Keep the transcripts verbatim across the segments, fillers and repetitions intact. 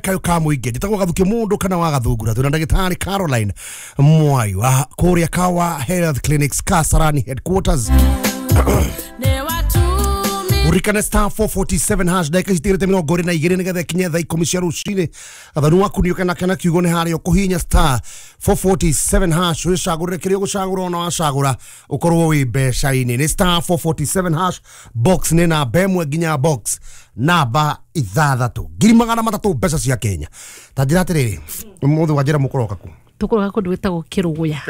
Kayo ka muingi njitagwo Gathuki mundu kana wa Gathungura twina ndagitari Caroline Mwai wa kuria Kawa Health Clinics Kasarani headquarters. Urikane star four forty-seven hash ndagika citigirite mirongo iri na igiri nigetha ikinye thaa ikumi cia rucini. Athanu waku ni kana kana kiugo ni haria ukuhinya star four forty-seven hash wicagurire kiria ugucagura ona wacagura ukorwo wi mbeca-ini. Ni star four forty-seven hash box ni namba ĩmwe nginya box namba ithathatu ngiri magana matatu mbeca cia Kenya. Ta njira atiriri, umuthi wa njira mukoroka ku tukoroka kundu gwitagwo Kiruguya.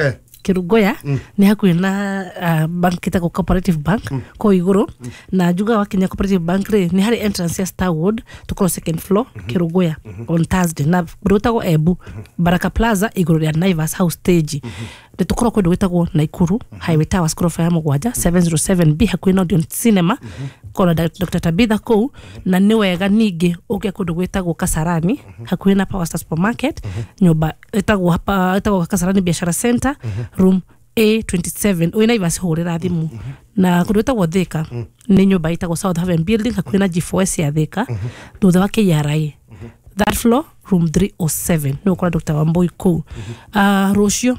Kirugoya mm. ni hakuhi na uh, bank itagwo Cooperative Bank mm. ko iguru mm. na njuga wa Kenya Cooperative Bank ri ni hari entrance ya Starwood tukorwo second floor mm -hmm. Kirugoya mm -hmm. on Thursday na gwitagwo Ebu mm -hmm. Baraka Plaza iguru ria Naivas House stage mm -hmm. ni tukorwo kundu gwitagwo Naikuru mm -hmm. Highway Towers gorofa ya mugwanja seven oh seven B hakuhi na Odeon Cinema mm -hmm. kona Doctor Tabitha kuu mm -hmm. na ni wega ningi uke kundu gwitagwo Kasarani mm -hmm. hakuhi na Power Star Supermarket mm -hmm. nyumba itagwo hapa itagwo Kasarani Biashara Center mm -hmm. room A twenty-seven wina Naivas hurira thimu mm -hmm. na kundu gwitagwo Thika mm -hmm. ni nyumba itagwo South Haven Building hakuhi na G four S ya Thika mm -hmm. thutha wa K R A mm -hmm. that floor room three oh seven ni ukora Doctor Wambui kuu mm -hmm. uh, rucio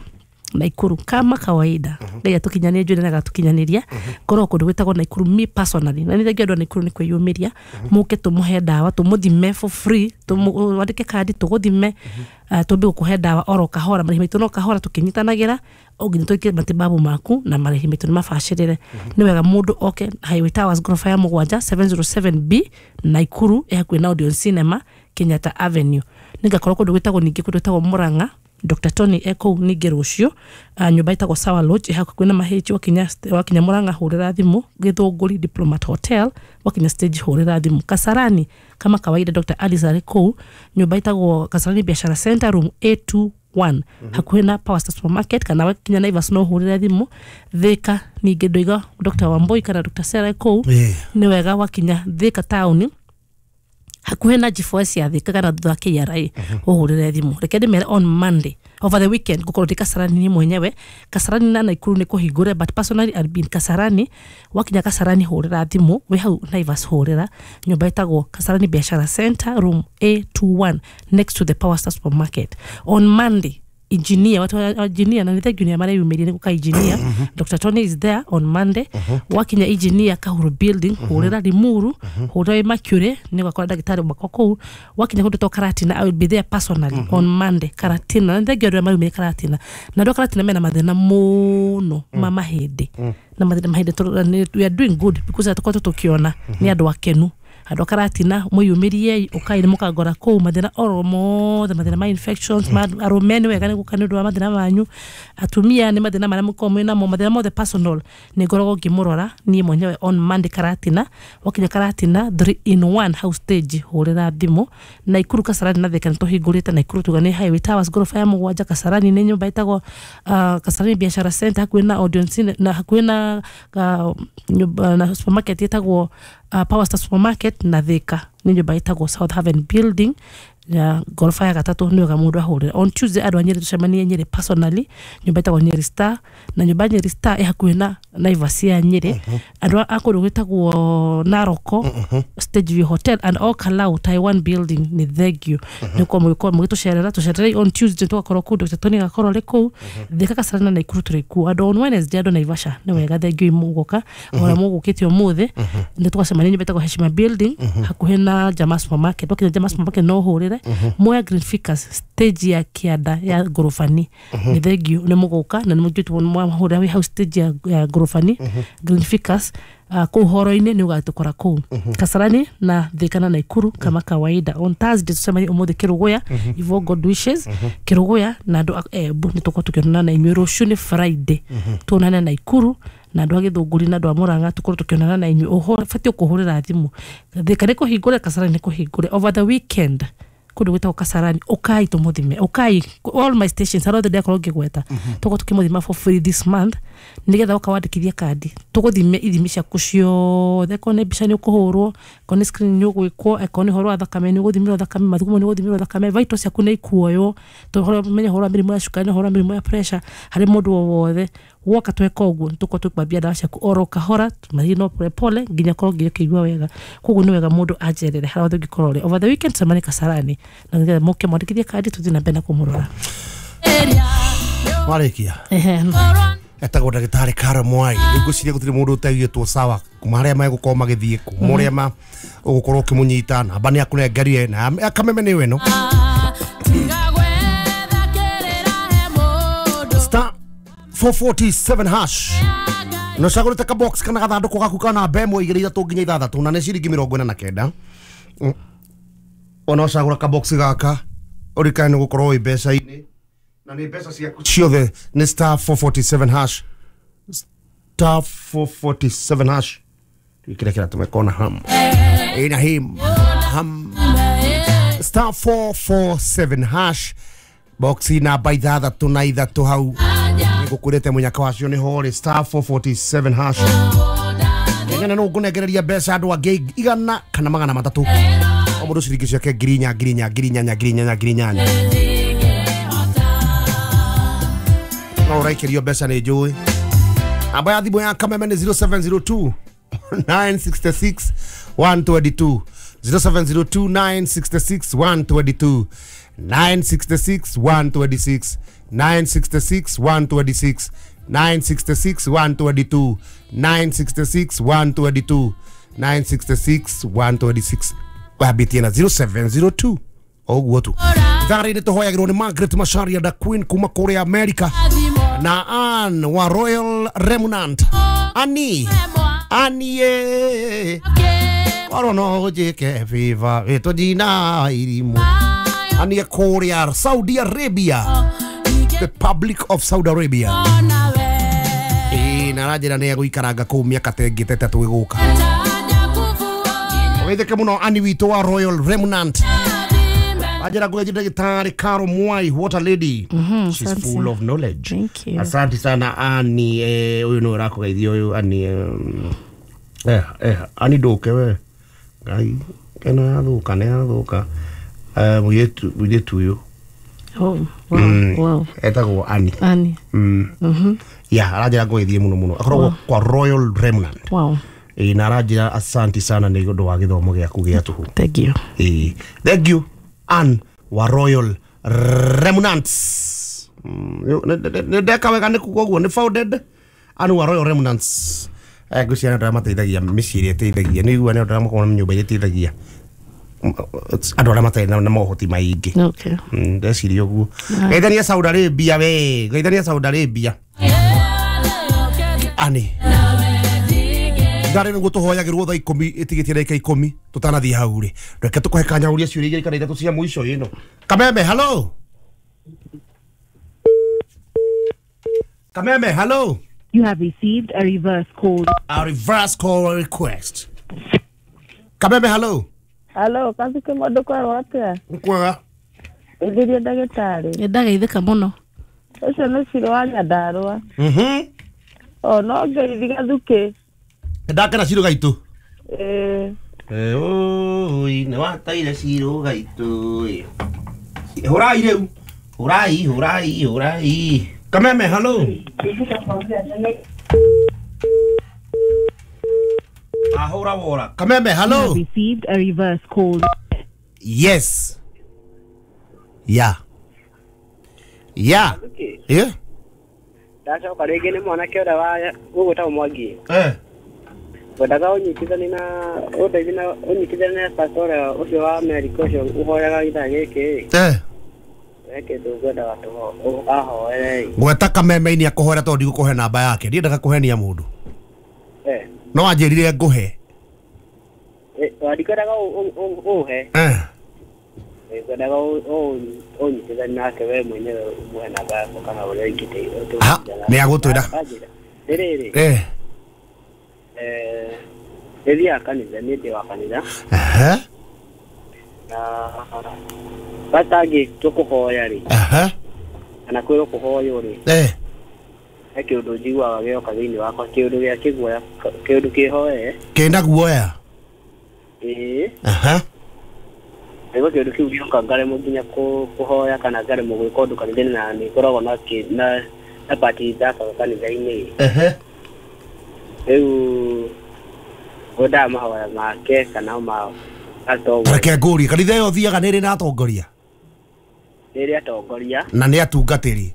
Naikuru kama kawaida ngai mm -hmm. atukinyania njui na gatukinyaniria mm -hmm. korwo kundu gwitagwo Naikuru me personally na nithengia andu a Naikuru ni kwiyumiria mm -hmm. muke tumuhe ndawa tumuthime for free tumwandike kandi tuguthime mm -hmm. uh, tumbe gukuhe ndawa oro kahora marihi maitu no kahora tukinyitanagira nginya twike matibabu maku na marihi maitu ni mabacirire mm -hmm. ni wega mundu oke Highway Towers gorofa ya mugwanja seven oh seven B Naikuru ĩ hakuhĩ na Odeon Cinema Kenyatta Avenue. Ningakorwo kundu gwitagwo ningi kundu gwitagwo Murang'a Doctor Tony eko ningi rucio uh, nyumba itagwo Sawa Lodge hakuhĩ na mahichi wakinya wakinya Murang'a hurira thimu Githunguri Diplomat Hotel wakinya stage hurira thimu Kasarani kama kawaida Doctor Alice ari kuu nyumba itagwo Kasarani Biashara Center room A two one mm -hmm. hakuhĩ na Power Star Supermarket kana wakinya Naivas no hurira thimu Thika ningi ndoiga Doctor Wambui kana Doctor Sarah kuu yeah. ni wega wakinya Thika town hakuhĩ na G four S ya Thika kana thutha wa K R A uhurire thimu. Reke ndimere on Monday over the weekend ngukorwo ndi Kasarani ni mwenyewe Kasarani na Naikuru ni kuhingure but personally I'll be in Kasarani. Wakinya Kasarani hurira thimu wi hau Naivas hurira nyumba itagwo Kasarani Biashara Center room A two one next to the Power Star Supermarket on Monday. Engineer watu engineer na nithe junior mara yumirie guka engineer Doctor Tony is there on Monday wakinya engineer Kahuru building hurira Limuru hurira Mercury ni gwakora ndagitari makwa kuu wakinya kundu to Karatina I will be there personally on Monday Karatina na nithe ngiorera mara yumirie Karatina na ndo Karatina mena mathina muno ma mahindi na mathina mahindi we are doing good because atuko tukiona ni andu akenu andu a Karatina mwiyumirie ukai ni mukangora kuu mathina oro mothe mathina ma infections ma arume ni wega ni guka ni undu wa mathina manyu atumia ni mathina maria mukorwo mwina mo mathina mothe personal ni ngoragwo ngimurora ni mwenyewe on Monday Karatina wakinya Karatina three in one house stage hurira thimu Naikuru Kasarani na Thika nituhingurite Naikuru tuga ni Highway Towers gorofa ya mugwanja Kasarani ni nyumba itagwo uh, Kasarani Biashara Center hakuhi na Odeon na hakuhi na uh, na supermarket itagwo uh, Power Star Supermarket na Thika ni nyumba itagwo South Haven Building ya gorofa ya gatatu ni wega mundu ahurira on Tuesday andu a Nyeri tucemanie Nyeri personally nyumba itagwo Nyeri Star na nyumba Nyeri Star ĩ hakuhĩ na Naivas ya Nyeri andu a kundu gwitagwo Naroko Stage View Hotel and all Kalau Taiwan Building ni thengio ni ko mugĩkorwo mũgĩtũcerera tũcererei on Tuesday tugakorwo kuu Doctor Tony agakorwo arĩ kuu Thika Kasarani na Naikuru tũrĩ kuo andu on Wednesday andu Naivasha ni wega thengio mũgũka ona mũgũkĩte ũmũthĩ nĩ tũgacemania nyumba ĩtagwo Heshima Building hakuhĩ na Jamaa Supermarket wakinya Jamaa Supermarket no ũhũrĩre Moya Green Ficus stage ya kianda ya gorofani ni thengio ni muguka na ni mujitwo mwahurira wi house stage ya, ya gorofani Green Ficus uh, kuu horo-ini ni ugatukora kuu Kasarani na Thika na Naikuru kama kawaida on Thursday tucemanie umuthi Kiruguya Ivo God wishes Kiruguya na andu Embu ni tukorwo tukionana na inyuĩ rucio ni Friday tuonane Naikuru na andu a Githunguri na andu a Murang'a tukorwo tukionana na inyuĩ ũbatiĩ kũhũrĩra thimũ Thika nĩ kũhingũre Kasarani nĩ kũhingũre over the weekend kundu gwitagwo Kasarani ukai tumuthime ukai all my stations arothe ndakorwo ngigweta tukorwo tukimuthima for free this month nigetha uka wandikithia kandi tuguthime ithimi ciaku ciothe ko ni mbica ni ukuhurwo ko ni screen ni ugwikwo ko ni horo wa thakame ni uguthimirwo thakame mathugumo ni uguthimirwo thakame vitals ciaku ni ikuoywo tumenye horo wa mirimu ya cukari na horo wa mirimu ya pressure hari mundu o wothe Woka tweka ũguo nĩtũkorwo tũkwambia ndawa ciaku oro kahora, tũmathiĩ no pole pole nginya korwo nginya ũkĩigua wega. Koguo nĩ wega mũndũ anjerere harĩa hothe ũngĩkorwo ũrĩ. Over the weekend tũcemanie Kasarani na nĩgetha mũke mwandĩkithie kandi tũthiĩ na mbere na kũmũrora. Warĩkia. Ehe. Etagwo ndagĩtarĩ Carol Mwai. Rĩu ngwĩciria gũtirĩ mũndũ ũtaiguĩtwo sawa kuma harĩa megũkorwo magĩthiĩ, kuma ũrĩa ma ũgũkorwo ũkĩmũnyita, namba nĩ akũnengerire na Kameme nĩyo ĩno. Star four forty-seven hash. Na ũcagũrĩte ka box kana gathandũkũ gaku ka namba ĩmwe igĩrĩ ithatũ nginya ithathatũ na nĩ ciringi mĩrongo ĩna na kenda. Ona ũcagũra ka box gaka ũrikane nĩ gũkorwo wĩ mbeca-inĩ na nĩ mbeca ciaku ciothe nĩ star four forty-seven hash. Star four forty-seven hash. Kĩrĩa kĩratũma kona ham. Ĩna him ham. Star four four seven hash. Box namba ithathatũ na ithatũ hau. Nĩngũkwĩrĩte mũnyaka wacio nĩ horĩ star four forty-seven hash. Ngena no ngũnengereria mbeca andũ angĩ igana kana magana matatũ. O mũndũ ciringi ciake ngiri inya ngiri inya ngiri inyanya ngiri inyanya ngiri inyanya. No ũraikĩrio mbeca nĩ njũĩ. Namba ya thimũ ya Kameme nĩ zero seven zero two nine six six one two two. zero seven zero two nine six six one two two. nine six six one two six. nine six six one two six. nine six six one two two. nine six six one two two. nine six six one two six. Wambĩtie na zero seven zero two. Ũguo tu. Ithaa rĩrĩ tũhoyagĩrwo nĩ Margaret Macharia da Queen kuma kũrĩa America na Ann wa Royal Remnant. Annie Annie korwo no ũnjĩke favor wĩtwo ndina irimũ. Annie kũrĩa Saudi Arabia, the Republic of Saudi Arabia. Ĩĩ na aranjĩra nĩ egũikaranga kũu mĩaka ta ĩngĩ ta ĩtatũ ĩgũka. Ũgeithĩke mũno Annie witũ wa Royal Remnant. Ajira ngũgeithie ndagĩtarĩ Carol Mwai, what a lady. Mm-hmm, She's full of knowledge. Thank you. Asante sana Annie. Eh, ũyũ nĩwe ũrakũgeithia ũyũ Annie. Eh, eh, Annie ndũke we. Ngai, ĩno yathũka nĩ yathũka. Eh, mũirĩtu mũirĩtu ũyũ. Oh, wow, mm, wow. Etagwo Annie. Annie. Mm. Mhm. Yeah, aranjĩra ngũgeithie mũno mũno. Akoragwo Wow. kwa Royal Remnant. Wow. Ĩĩ na aranjĩra asante sana nĩ ũndũ wa gĩthomo gĩaku gĩa tũhũ. Thank you. Ĩĩ. Thank you. Ann wa Royal Remnants. Nĩ ndeka wega nĩ kuga ũguo nĩ founded Ann wa Royal Remnants. Eh, ngwĩciria nĩ andũ arĩa mateithagia mĩciĩ ĩrĩa ĩteithagia. Nĩ igua nĩ andũ arĩa makoragwo na nyũmba iria iteithagia andũ arĩa matarĩ na mohoti maingĩ. Okay. Ndeciria ũguo. Geithania Saudi Arabia we, geithania Saudi Arabia. Annie. Ndarĩ nĩguo tũhoyagĩrwo thaa ikũmi ĩtigĩtie ndagĩka ikũmi tũtanathiĩ hau rĩ. Reke tũkũhe kanya ũrie ciũria igĩrĩ kana ithatũ cia mũico ĩno. Kameme, hello. Kameme, hello. You have received a reverse call. A reverse call request. Kameme, hello. Hello, kathike mũndũ kwerwo atĩa? Nkwega. Ĩthĩrie ndagĩtarĩ. Nĩ ndageithĩka mũno. Ũcio nĩ Ciro wa Nyandarũa. Mhm. O no ngeithi Gathukĩ. Ndakena Ciro gaitũ. Ĩĩ. Eh, oi, nĩ wataire Ciro gaitũ. Hũrai rĩu. Hũrai, hũrai, hũrai. Kameme, hello. Ahora wora. Kameme, hello. You have received a reverse call. Yes. Yeah. Yeah. Yeah. Ndacoka rĩngĩ nĩ mwanake ũrĩa wa ũgwĩtagwo Mwangi. Eh. Ngwendaga ũnyitithanie na ũndeithie na ũnyitithanie na pastor ũrĩa ũcio wa Amerika ũcio ũhoyaga gĩthaa gĩkĩ. Eh. He kĩndũ ngwendaga ahoere. Gweta Kameme-inĩ akũhoera tondũ ndigũkũhe namba yake. Ndiendaga kũhenia mũndũ. Eh. No anjĩrire ngũhe. Eh, ndikwendaga ũhe. Eh. Ngwendaga ũnyitithanie nake we mwenyewe ũmũhe namba yakwa kana ũrĩa ingĩteithia. Ha, nĩ agũtwĩra. Rĩrĩ. Eh. Eh, nĩthiaga kanitha, niĩ ndĩ wa kanitha. Aha. Na batangĩ tũkũhoya rĩ. Aha. Kana kwĩrwo kũhoywo rĩ. Eh. He kĩũndũ njiguaga gĩoka thĩinĩ wakwa, kĩũndũ gĩa kĩguoya, kĩũndũ kĩhoe. Kĩna guoya? Ĩĩ. Aha. Nĩguo kĩũndũ kĩu gĩoka ngaremwo nginya kũhoya kana ngaremwo gwĩka ũndũ kanitha-inĩ na nĩ ngoragwo na na Chapati ithakaga kanitha-inĩ. Ehe. Rĩu ngwendaga mahoya make kana ma atongoria. Reke ngũrie, kanitha ĩyo ũthiaga nĩ ĩrĩ na atongoria? Nĩ ĩrĩ atongoria. Na nĩ atungatĩri?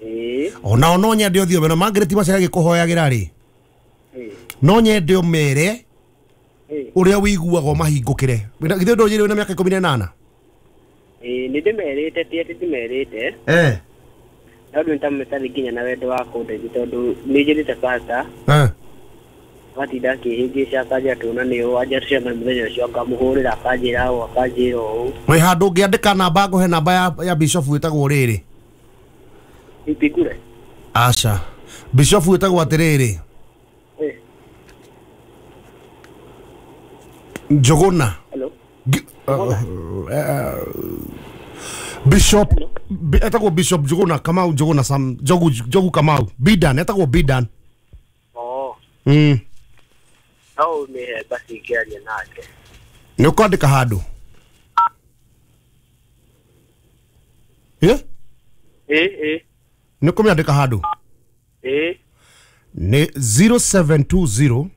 Ĩĩ. Onao no nyende ũthiĩ ũmere, Margaret Macharia agĩkũhoyagĩra rĩ, no nyende ũmere ũrĩa wĩiguaga ũmahingũkĩre. Githĩ ndũnjĩrĩ wĩna mĩaka ikũmi na ĩnana? Ĩĩ, nĩ ndĩmerĩte, ti atĩ ndimerĩte. Eh. No ndũ nĩtamũtarĩ nginya na wendo wa kũndeithia tondũ nĩ njĩrĩte pastor. Eh. Agatinda akĩhĩngĩca akanjĩra tuonane ũũ, anjĩra tũcemanie mũthenya ũcio, ngamũhũrĩra akanjĩra ũũ, akanjĩra ũũ. Wĩ handũ ũngĩandĩka namba, ngũhe namba ya, ya bishop wĩtagwo rĩrĩ. Ipikure? Aca. Bishop wĩtagwo atĩrĩrĩ. Eh. Njũgũna. Hello. Uh, uh, Bishop etagwo Bishop Njũgũna Kamau, Njũgũna Sam Njogu, Njogu Kamau Bidan, etagwo Bidan. Oh. Mm. No ũmĩhe basi ngĩaria nake. Nĩ ũkwandĩka handũ? Ĩ? Ĩ, ĩ. Nĩ ũkũmĩandĩka handũ? Ĩ. Nĩ zero seven two zero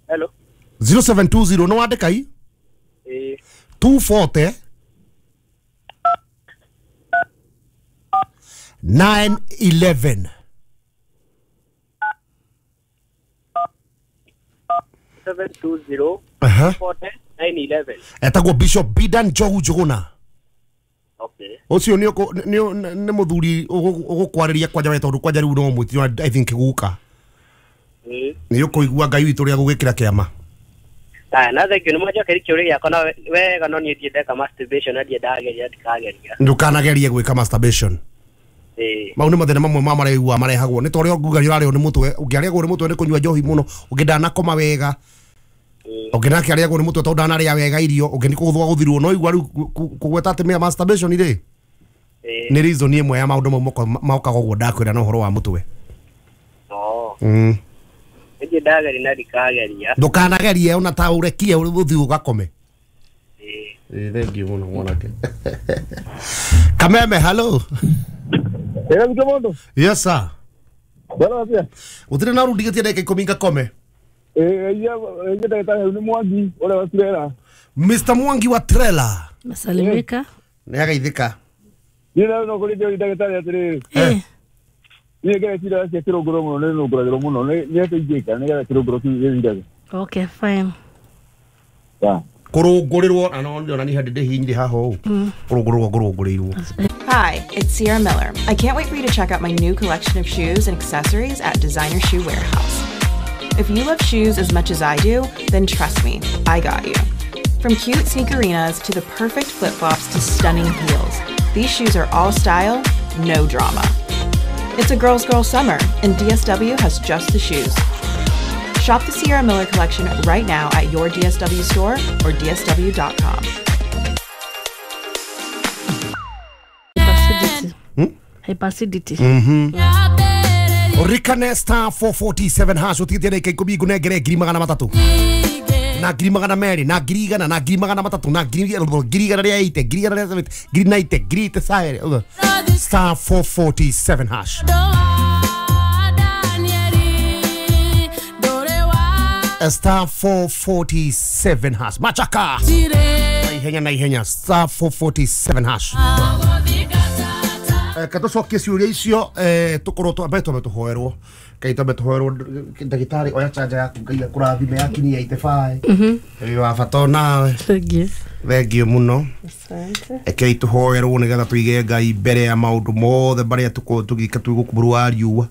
Hello. zero seven two zero no wandĩka i? Ĩ. two forty nine eleven. seven two zero Uh-huh. forty nine eleven. Etagwo Bishop Bidan Njogu Njũgũna. Okay. Ũcio nĩ nĩ mũthuri ũgũkwarĩria kwanja we tondũ kwanja rĩu no mwĩtio I think guka. Ĩ. Nĩ ũkũigua Ngai witũ ũrĩa gũgĩkĩra kĩama. Aya, na thank you, nĩ mwanjokeria kĩũria gĩakwa na wega, no niĩ ndiĩ ndeka masturbation na ndiĩ ndageria ndikageria. Ndũkanagerie gwĩka masturbation. Ĩ. Mau nĩ mathĩna mamwe ma marĩa ũiguaga marehagwo nĩ ta ũrĩa nguga nĩ ũrarĩo nĩ mũtwe, ũngĩarĩagwo nĩ mũtwe nĩ kũnyua njohi mũno, ũngĩ ndanakoma wega, ũngĩ nake arĩagwo nĩ mũtwe tondũ ndanarĩa wega irio, ũngĩ nĩ kũgũthwo gũthirwo, no igua rĩu kũgweta atĩ masturbation rĩ nĩ reason ĩmwe ya maũndũ mau mokaga ũguo ndakwĩra na ũhoro wa mũtwe. Oh. Mm. Ndiĩ ndageria na ndikageria. Ndũkanagerie ona ta ũrekie ũthiĩ ũgakome. Ĩ. Ĩ, thank you mũno mwanake. Kameme, hello. Ĩra mtu mũndũ. Yes sir. Bwana atia. Gũtirĩ na ũrundigĩtie ndagĩka ikũmi ngakome. Ĩ, iya ndagĩtarĩ nĩ Mwangi ũrĩa wa Trela. Mister Mwangi wa Trela. Nasalimika. Nĩ agaithĩka. Niĩ no kũrĩ ndagĩtarĩ atĩrĩrĩ. Eh. Niĩ ngerecia cia kĩrũngũrũ mũno, nĩ nũngũragĩrwo mũno, nĩ atĩ ingĩka nĩgetha kĩrũngũrũ kĩu gĩthirage. Okay, fine. Yeah. Kũrũngũrĩrwo na no ndĩrona niĩ hĩndĩ ndĩhihinyire haha ũũ. Kũrũngũrĩrwo ngũrũngũrĩirwo. Hi, it's Sierra Miller. I can't wait for you to check out my new collection of shoes and accessories at Designer Shoe Warehouse. If you love shoes as much as I do, then trust me, I got you. From cute sneakerinas to the perfect flip-flops to stunning heels, these shoes are all style, no drama. It's a girl's girl summer, and D S W has just the shoes. Shop the Sierra Miller collection right now at your D S W store or D S W dot com. Hyperacidity. Hmm? Hyperacidity. Mm-hmm. Rikane star four forty-seven hash ũtigĩtie ndagĩka ikũmi ngũnengere ngiri magana matatũ na ngiri magana merĩ na ngiri igana na ngiri magana matatũ na ngiri ngiri igana rĩa eighty ngiri igana rĩa seventy ngiri ninety ngiri eighty star four forty-seven hash. Star four forty-seven hash. Machaka. Na ihenya na ihenya star four forty-seven hash. Katũcokie ciũria icio tũkorwo twambe twambe tũhoerwo Ngai twambe tũhoerwo ndagĩtarĩ oya chanja yaku Ngai akũrathime yakinyia eighty-five. Wĩ wa bata onawe. Thank you. Thank you mũno. Rekei tũhoerwo nĩgetha tũige Ngai mbere ya maũndũ mothe marĩa tũkorwo tũgĩka twĩ gũkũ bũrũri wa riũa.